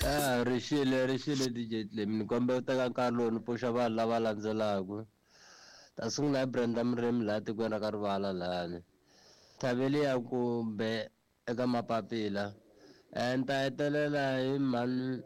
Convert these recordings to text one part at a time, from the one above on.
Ah, rixile rixile DJ Clem ni kombela u teka nkarhi lowu ni pfuxa vanhu lava landzelaka. Ta sungula hi Brenda Murimi laha tikweni ra ka Rivala lahani. Thaveli ya kumbe eka mapapila. Ni ta hetelela hi mhani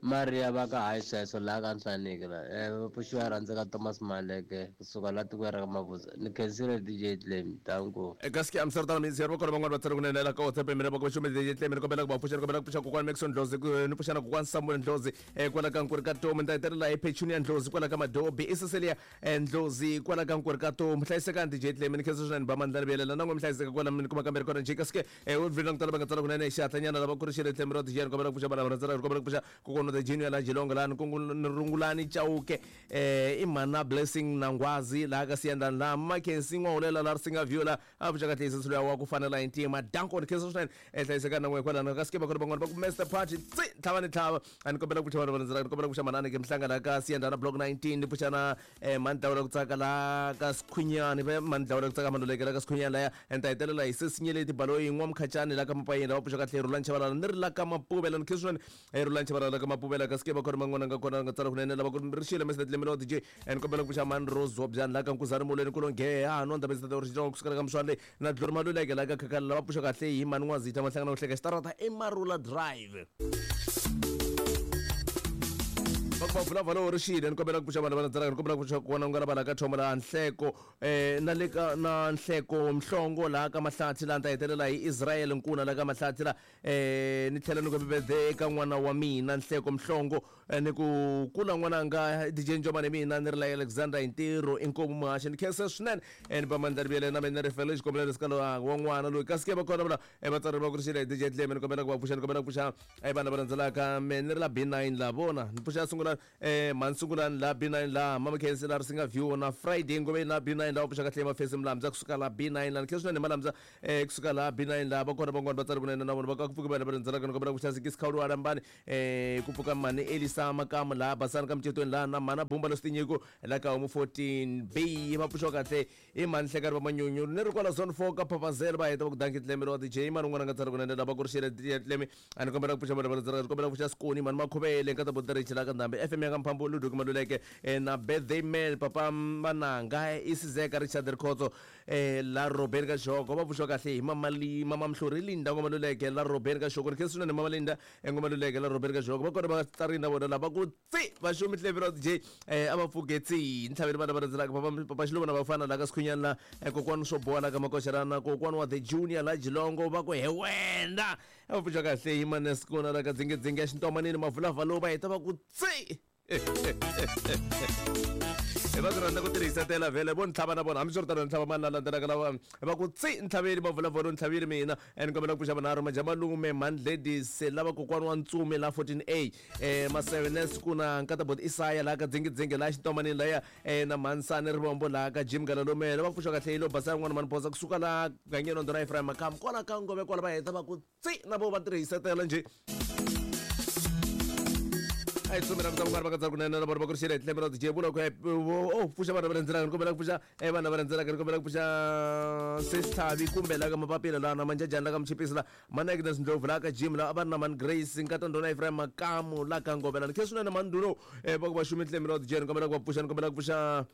Maria va ka hayi sweswo laha ka Nhlaniki la. Va pfuxiwa rhandzeka Thomas Maleke kusuka laha tikweni ra ka Mabuza. Ni khensile DJ Clem. Danko. Eka ski Amsterdam mi va kona van'wana va tsala kunene la ka WhatsApp mina va ku xumi DJ Clem ni kombela ku va pfuxa ni kombela ku pfuxa kokwani Maxon Ndlozi ni pfuxa na kokwani Samuel Ndlozi kwala ka Nkuri ka Tomu ni ta hetelela hi Petunia Ndlozi kwala ka Madobi i Cecilia Ndlozi kwala ka Nkuri ka Tomu hlayisekani DJ Clem ni khensa swinene ba mandla ni vuyelela na n'we mi hlayiseka kwala mi kuma kambe ri kona njhe kasi ke u vhina ku tala va nga tsala kunene xihatlanyana lava ku ri xile Clem ra DJ ni kombela ku pfuxa vana va rhandzela ni kombela ku pfuxa kokwana the junior la Jilongo la ni rungulani Chauke i mhana Blessing na Nghwazi laha ka Siyandlani laha Mackenzie N'wahulela la Risinga View la a pfuxa kahle hi luya wa ku fanela hi ntima danko ni khensa swinene hlayisekani na n'we kwalano ka sikeba kona van'wana va ku Master Party tsi tlhava ni tlhava a ni kombela ku pfuxa vanhu va landzelaka ni kombela ku pfuxa manani ke mhlanga laha ka Siyandlana block 19 ni pfuxa na mhani Dlawula ku tsaka laha ka Sikhunyani va mhani Dlawula ku tsaka Maluleke laha ka Sikhunyani laya ni ta hetelela hi Sesinyeleti Baloyi N'wamkhacani laha ka Mapayeni lava pfuxa kahle Rhulani Chavalala ni ri la ka Mapuvela ni khensa swinene Rhulani Chavalala la ka Mapuvela ka sikeba kona man'wana nga kona nga tsala kunene lava ku ri xile Mr Dlemelo DJ ni kombela ku pfuxa mhani Rose Zobyani laha ka Nkuzani Molweni ku longhee ha nwa ndaba ndzi ri kusukela ka Mswale na Glory Maluleke laha ka Khakhala lava pfuxa kahle hi mhani N'wazitha Mahlangana ku hleka xitarata eMarula Drive va ku va vulavula lowu ri xile ni kombela ku pfuxa vanhu va landzelaka ni kombela ku pfuxa kona ku nga na vanhu ka thoma laha nhleko na le ka na nhleko mhlongo laha ka mahlathi laha ni ta hetelela hi Israel Nkuna laha ka mahlathi laha ni tlhela ni ku birthday eka n'wana wa mina nhleko mhlongo ni ku kula n'wananga DJ Njomane mina ni ri la Alexander hi ntirho inkomu muhaxi ni khensa swinene ni ba mandla ri vuyele na mina ni ri fele xikombelo lexi ka lowa wa n'wana loyi kasi ke va kona vula vatswari va ku ri xile DJ Dleme ni kombela ku va pfuxa ni kombela ku pfuxa vanhu lava landzelaka me ni ri la B9 la vona ni pfuxa sungula mhani sungulani la B9 la mama khensi la ri singa view na Friday ngove la B9 la va pfuxa kahle mafesi mlamza kusuka la B9 la ni khensa swinene malamza kusuka la B9 la va kona van'wana va tsari kunene na vona va ka ku pfuka vanhu va landzelaka ni kombela ku pfuxa Sikisi Khawulu wa Lambani ku pfuka mhani Elisa Makamu laha Basani ka Mcetweni laha na mhana Bumba Lositinyiko la ka Homu 14 B va pfuxiwa kahle i mhani Hlekani va Manyunyu ni ri kwala zone 4 ka Phapazela va heta va ku danki Tlemi wa DJ mani un'wana a nga tsala kunene lava ku ri xele DJ Tlemi a ni kombela ku pfuxa vanhu va landzelaka ni kombela ku pfuxa Sikoni mhani Makhuvele nkata Boterichi la ka Ndhambi FM ya ka Mphambo Ludwig Maluleke na Birthday Man papa Mananga Isizeka Richard Rikhotso la Robeni ka Xihoko va pfuxiwa kahle hi mama mama Mhluri Linda Ngoma Luleke la Robeni ka Xihoko ni khensa swinene mama Linda Ngoma Luleke la Robeni ka Xihoko va kona va tsarini na vona lava ku tsi va xumi Tlemi ra DJ a va pfuke tsi ni tlhaveli vana va landzelaka papa papa Xiluva na vafana la ka Sikhunyani la kokwani swo boha la ka Makoxelana na kokwani wa the junior la Jilongo va ku he wena a va pfuxiwa kahle hi Manesikona la ka Dzingedzinge ya Xintomanini Mavulavalo va heta va ku tsi hi va ku rhandza ku tirhisetela vhele vo ntlhava na vona hambiswiritano ntlhava mani la landzelaka lava va ku tsi ntlhaveli va vulavula ntlhaveli mina ni kombela ku pfuxa vanharhu majamalume mhani ladies lava kokwani wa ntsumi la 14 a masevenes ku na nkatabot isaya laha ka dzingidzingi laha xintomanini laya na mhansani rivombo laha ka jim galalomele va pfuxa kahle yilo basa yan'wana mani bosa kusuka laha gangeni ndona Ephraim Makamu kwala ka ngove kwala va heta va ku tsi na vo va tirhisetela njhe a hi tsumela ku ta va ka kunene na vona va ku ri xile hi tlhelo ra DJ vula ku o pfuxa vanhu va landzelaka ni kombela ku pfuxa vanhu lava landzelaka ni kombela ku pfuxa Sesithavi kumbe la ka mapapila la na manjajani la ka Mchipisi la mani Agnes Ndlovu la ka Jim la a va ri na mani Grace nkata ndhuna Ephraim Makamu la ka Ngovela ni khe swinene mani Nduno va ku va xumi tlhelo ra DJ ni kombela ku va pfuxa ni kombela ku pfuxa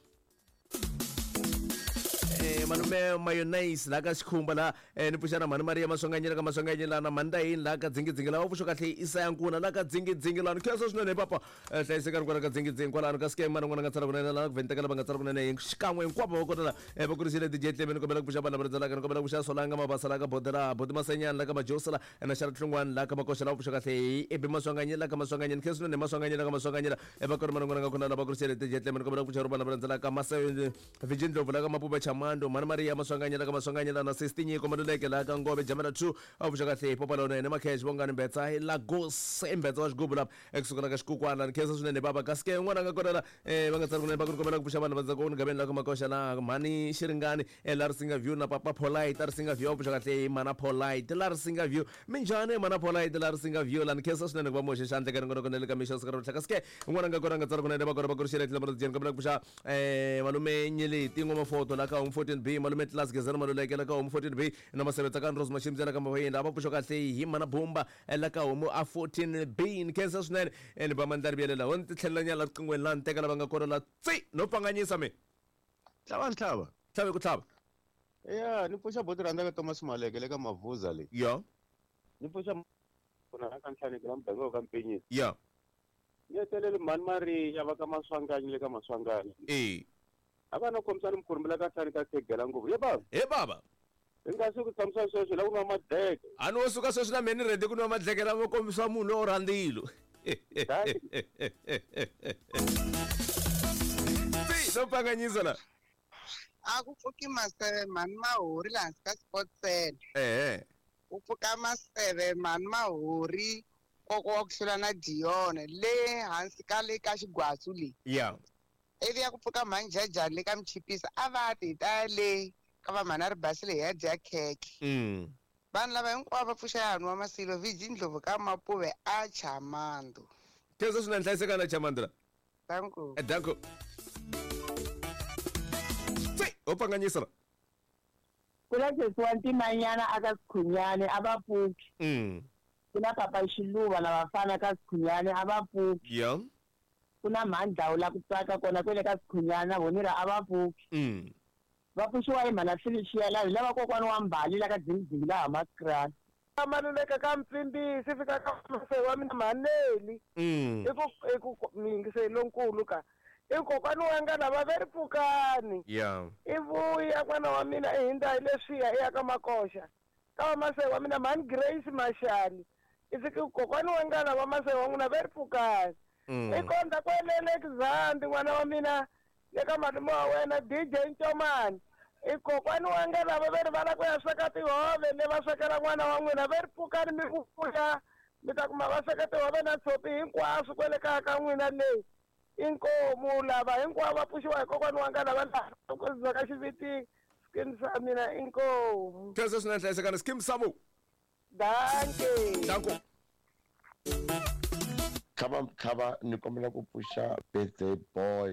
malume mayonnaise laha ka xikhumba laha ni pfuxa na mhani Maria Maswanganyela ka Maswanganyela na mhani Ndayini laha ka dzingidzingi lava pfuxa kahle Isaya Nkuna laha ka dzingidzingi laha ni khensa swinene hi papa hlayisekani kwala ka dzingidzingi kwalano ka scam mani n'wana nga tsala kunene laha ku vhentekela va nga tsala kunene hi xikan'we hinkwavo va kota laha va kurisile DJ Tlemi ni kombela ku pfuxa vanhu lava landzelaka ni kombela ku pfuxa Solanga Mabasa laha ka Bodela Boti Masenyani laha ka Majosa laha na Xara Hlungwani laha ka Makoxa lava pfuxa kahle hi Ebi Maswanganyela laha ka Maswanganyela ni khensa swinene Maswanganyela ka Maswanganyela va kona mani n'wana nga kona lava kurisile DJ Tlemi ni kombela ku pfuxa vanhu lava landzelaka Mase Virgin Ndlovu la ka Mapupa Chamando Mhani Maria Maswanganyela ka Maswanganyela na Sisti Nyiko Maluleke la ka Ngove Jamela 2 a pfuxa kahle hi Popa Lonene Makhesh Bongani Mbetsa hi Lagos i Mbetsa wa xigubu lapha ekusuka la ka Xikukwana ni khensa swinene baba kasi ke n'wana nga kona la va nga tsari kunene va ku ni kombela ku pfuxa vanhu va ndzhaku ni gaveni la ka Makoxa la Mhani Xiringani la Risinga View na Papa Polite la Risinga View a pfuxa kahle hi Mana Polite la Risinga View minjhani Mana Polite la Risinga View la ni khensa swinene ku va muhoxe xandla ka ringonoko na le ka mixo siku ra kasi ke n'wana nga kona nga tsari kunene va kona va kurixela tlhelo ra ni kombela ku pfuxa malume Nyeleti N'wamafoto la ka Home 14 14B, malume Class Gezana Maluleke la ka homu 14B, na Maseve Tsakani Rose Mashimbyana ka Mavayeni, a va pfuxa kahle hi mana Bumba la ka homu a 14B. Ni khensa swinene ni ba mandlari vuyelela ho ni ti tlhelela nyana la riqingweni la ni teka lava nga kona la tsi no pfanganyisa mi. Tlhava ni tlhava. Tlhave ku tlhava. Ya, ni pfuxa boti rhandza ka Thomas Maleke le ka Mavuza le. Ya. Ni pfuxa kuna ka Nhlaneki la muganga wa ka Mpenyisi. Ya. Ni hetelele mhani Mariya va ka Maswanganyi le ka Maswanganyi. E. A va na khomisana mikhurumbi la ka Hlani ka Khegela ngopfu. Ye baba. He baba. Hi nga suki tshamisa sweswi la ku nwa madleke. A ni wo suka sweswi na mina ni ready ku nwa madleke lama kombisa munhu lowo rhandzilo. Tsi, no pfanganyisa la. A ku pfuki maseve mhani mahori laha hansi ka Scottsdale. Ehe. Ku pfuka maseve mhani mahori koko wa ku hlula na Dion le hansi ka le ka xigwatsu le. Ya. Ivi ya ku pfuka mhani Jajani le ka Mchipisa a va ti hi ta le ka va mhani a ri basile hi ya dya khekhe. Vanhu lava hinkwavo va pfuxa ya nwa Masilo VG Ndlovu ka Mapuve a Chamando. Khensa swinene hlayiseka na Chamando la. Danko. Danko. Tsi, ho pfanganyisa la. Ku na sesi wa ntimanyana aka Sikhunyane a va pfuki. Ku na papa Xiluva na vafana ka Sikhunyane a va pfuki. Ya. Ku na mhandlawu la ku tsaka kona kwele ka Sikhunyane na vona a va pfuki. Va pfuxiwa hi mhana Felicia la hi lava kokwani wa Mbali la ka Dzingidzingi la Hammanskraal. Maluleka ka Mpfimbisi fika ka mase wa mina Mhaneli. I ku i ku miyingiseli lonkulu ka. I kokwani wa nga lava ve ri pfukani. Ya. I vuya n'wana wa mina i hindza hi leswiya i ya ka Makoxa. Ka wa mase wa mina Mhani Grace Mashali. I fika kokwani wa nga lava mase wa n'wina ve ri pfukani. I kondza kwelele Xizambi n'wana wa mina le ka malume wa wena DJ Ncomani. I kokwani wa nga lava ve ri va lava ku ya sweka tihove le va swekela n'wana wa n'wina ve ri pfukani mi vuya mi ta kuma va sweka tihove na tshopi hinkwaswo kwele kaya ka n'wina leyi. Inkomu lava hinkwavo va pfuxiwa hi kokwani wa nga lava laha ku ka xiviti skin sa mina inkomu. Khensa swinene hlayisekani skim samu. Danke. Danko. Tlhava tlhava ni kombela ku pfuxa birthday boy.